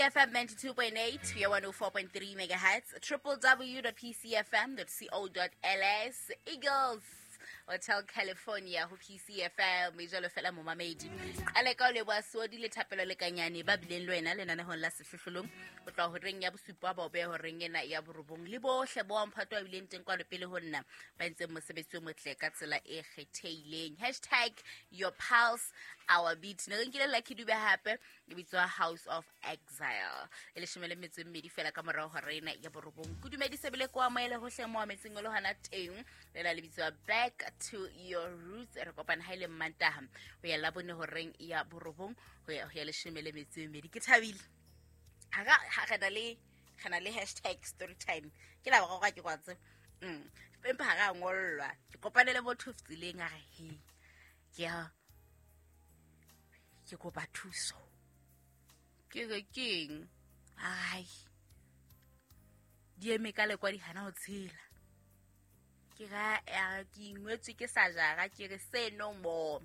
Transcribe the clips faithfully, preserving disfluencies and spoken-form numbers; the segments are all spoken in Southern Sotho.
P C F M ninety-two point eight, we are one oh four point three megahertz, w w w dot p c f m dot co dot l s. Eagles Hotel California ho P C F M e jalo fela. Momamedi, qale ka o leboha Seodi le Thapelo le Kanyane ba bileng le wena lenanehong la Sehlohlolong ho tloha horeng ya bosupa ba o beha horeng ena ya borobong, le bohle bo mphato ba bileng teng kwano pele ho nna ba entseng mosebetsi o motle ka tsela e kgethehileng. Hashtag your pulse, our beat. Ne re nkile Lucky Dube hape e bitswa House of Exile. E leshome le metso e mmedi fela ka morao hora ena ya borobong. Ke dumedise bile ko amohele hohle mo ametseng o le hona teng. Le la le bitswa Back to Your Roots. Re kopana ha ile Mmantaha ho ya Labone horeng ya borobong ho ya ho ya leshome le metso e mmedi. Ke thabile ha ka ha re na le re na le hashtag story time. Ke la boraro ke kwatse mm empa ha ra ngollwa. Ke kopane le motho tseleng, a re, "He, ke ya ke kopa thuso." Ke re, "Keng?" "Ai, di eme ka lekwa, di hana ho tshela." Ke ra ya ke ingwetswe ke sa jara. Ke re, "Say no more,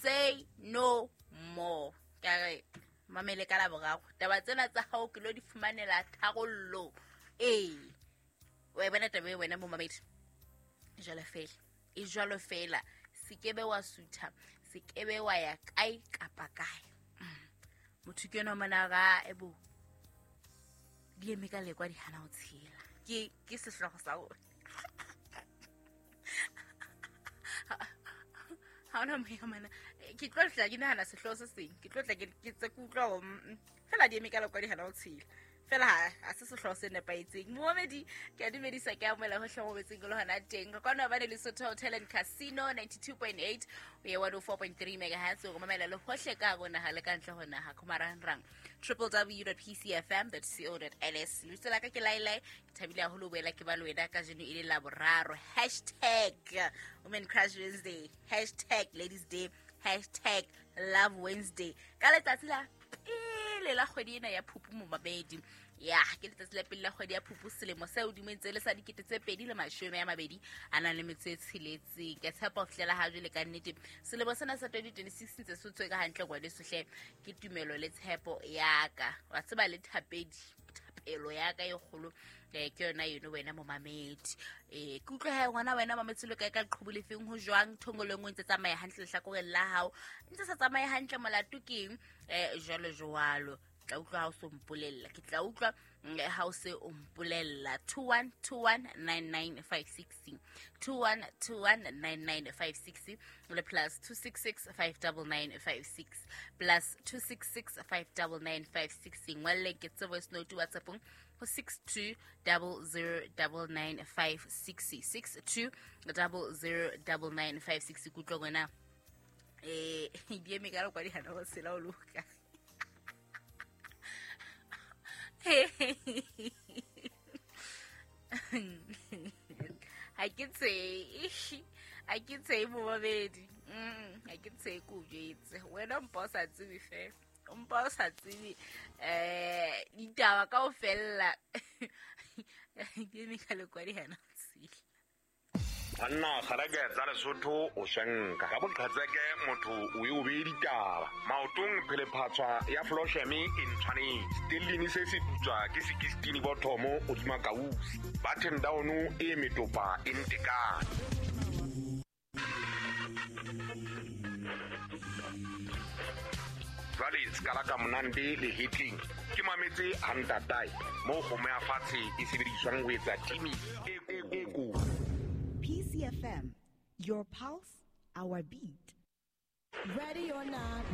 say no more." Ka re, "Mamele, ka la boraro taba tsena tsa hao ke lo di fumanela tharollo." Ee, wa e bona taba e wena momamedi, jwalo fela e jwalo fela. Se kebe wa sutha, se kebe wa ya kae kapa kae. Mm. Motho ke enwa mona ra ebo di eme ka lekwa, di hana ho tshela. ke ke sehlooho sa rona. Ha ona moya mana. Ke tlo tla ke nahana sehlooho se seng. Ke tlo tla ke ke tse ke utlwa hore mm, fela di eme ka lekwa, di hana ho tshela fela. Ha ha se sehlooho se nepahetseng. Momamedi, ke a dumedisa, ke amohela hohle mo betseng le hona teng. Re kwana bane Lesotho Hotel and Casino, ninety-two point eight ho ya one oh four point three megahertz. O mamela le hohle ka hare ho naha le ka ntle ho naha ko marangrang, w w w dot p c f m dot co dot l s. Lebitso la ka ke Lailai. Ke thabile haholo ho boela ke ba le wena kajeno e le Laboraro. Hashtag Women Crush Wednesday, hashtag Ladies Day, hashtag Love Wednesday, ka letsatsi la pele la kgwedi ena ya Phupu. Momamedi, ya ke letsatsi la pele la kgwedi ya Phupu selemo se hodimo ntse le sa dikete tse pedi le mashome a mabedi a nang le metso e tsheletseng. Ke tshepa ho fihlela ha jwale ka nnete selemo sena sa twenty twenty-six ntse se tswe ka hantle ngwaneso hle. Ke tumelo le tshepo ya ka, wa tseba, le thapedi, thapelo ya ka e kgolo eh, ke yona eno wena momamedi. um ke utlwe ha ngwana wena mametse le kae ka leqhubu lefeng, ho jwang thongolong, o ntse tsamaya hantle lehlakoreng la hao, ntse sa tsamaye hantle, molato keng, um jwalo jwalo. Tla utlwa ha o so mpolella, ke tla utlwa mm, ha o se o mpolella. two one two one nine nine five six, two one two one nine nine five six, le plus two six six five nine nine five six, plus two six six five nine nine five six. Ngwalle ke tse voice note WhatsAppong ho six two zero zero nine nine five six, six two zero zero nine nine five six. Kutlwa ngwana eh di eme ka lekwadi hana ho sela o loka. Ha ke tseye, ha ke tseye momamedi. Mm, ha ke tseye, ke o jwetse wena, mpa o sa tsebe fela, o mpa o sa tsebe um ditaba ka ho fella. Di eme ka lekwadi hana ho tshela. Banna kgareke tsa Lesotho o shenka ka boqhetseke, motho o e o bee ditaba maotong. Phelephatswa ya flosheme e ntshwanetse stellini se se putswa ke sekistini bothomo hodima kausi button down e metopa e ntekane. Jwale se ka monande le hetleng ke mametse hantatae moo kgomo ya fatshe e sebediswang ho etsa timi e e kotsi. P C F M, your pulse, our beat. Ready or not,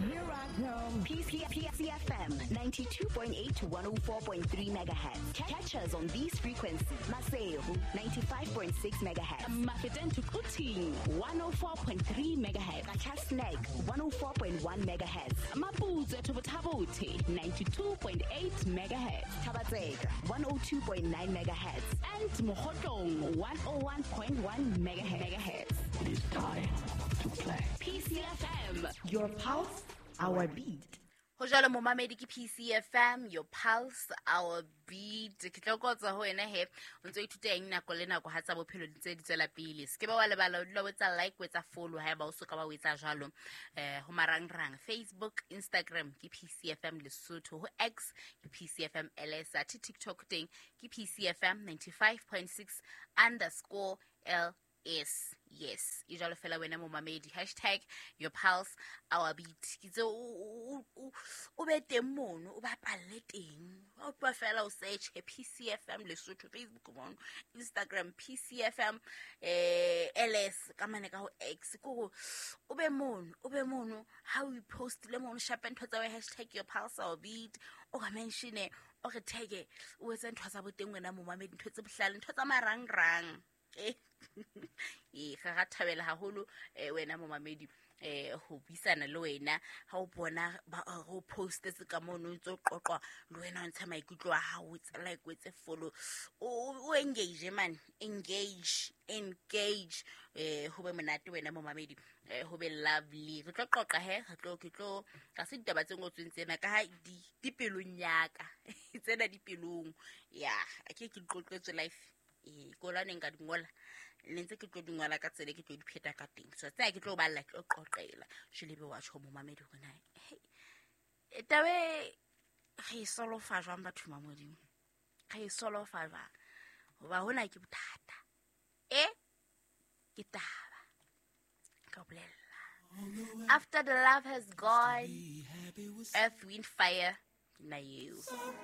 here I come. P C F M ninety-two point eight to one oh four point three megahertz. Catch us on these frequencies. Maseru ninety-five point six megahertz. Mafeteng to Quthing one oh four point three megahertz. Qacha's Nek one oh four point one megahertz. Maputswe to Botha-Bothe ninety-two point eight megahertz. Thaba-Tseka one oh two point nine megahertz. And Mokhotlong one oh one point one megahertz. It is time to play. P C F M. Your pulse, our beat. Ho jwalo momamedi ke P C F M, your pulse, our beat. Ke tlo kotsa ho wena he, o ntso ithuta eng nako le nako ha tsa bophelo di ntse di tswela pele. Se ke ba wa lebala o dula o etsa like, o etsa follow haeba o soka ba o etsa jwalo. Eh ho marangrang Facebook, Instagram ke P C F M Lesotho, ho X ke P C F M L S, athe TikTok teng ke P C F M ninety-five point six underscore L S. Yes, e jwalo fela wena momamedi, hashtag your pulse, our beat. Ke tse o o be teng mono, o bapalle teng. O tloha fela o search P C F M Lesotho, Facebook mono, Instagram P C F M eh L S ka mane ka ho X, ko o be mono, o be mono ha o post le mono shape ntho tsa hashtag your pulse our beat, o ka mention o re tag o etse ntho tsa boteng wena momamedi, ntho tse bohlale, ntho tsa marangrang. Eh e ga thabela haholo wena momamedi eh ho buisana le wena ha o bona go postetse ka mono ntse qoqwa le wena o ntsha maikutlo a hao, tsa like o etse follow, o engage man, engage engage eh ho be monate wena momamedi, eh ho be lovely. Re tlo qoqa he, re tlo ke tlo ka se ditaba tse ngotsweng tsena ka ha di di pelong ya ka tsena di pelong ya ke ke qoqetswe life e kola neng ka dingola le ntse ke tlo dingola ka tsela ke tlo di pheta ka teng, so tsa ke tlo balla ke tlo qoqela jwale be wa tjho momamedi hore na hey tabe re solofa jwang batho ba Modimo, re solofa jwang hoba hona ke bothata e ke taba ka bolella. After the love has gone, earth, wind, fire na you.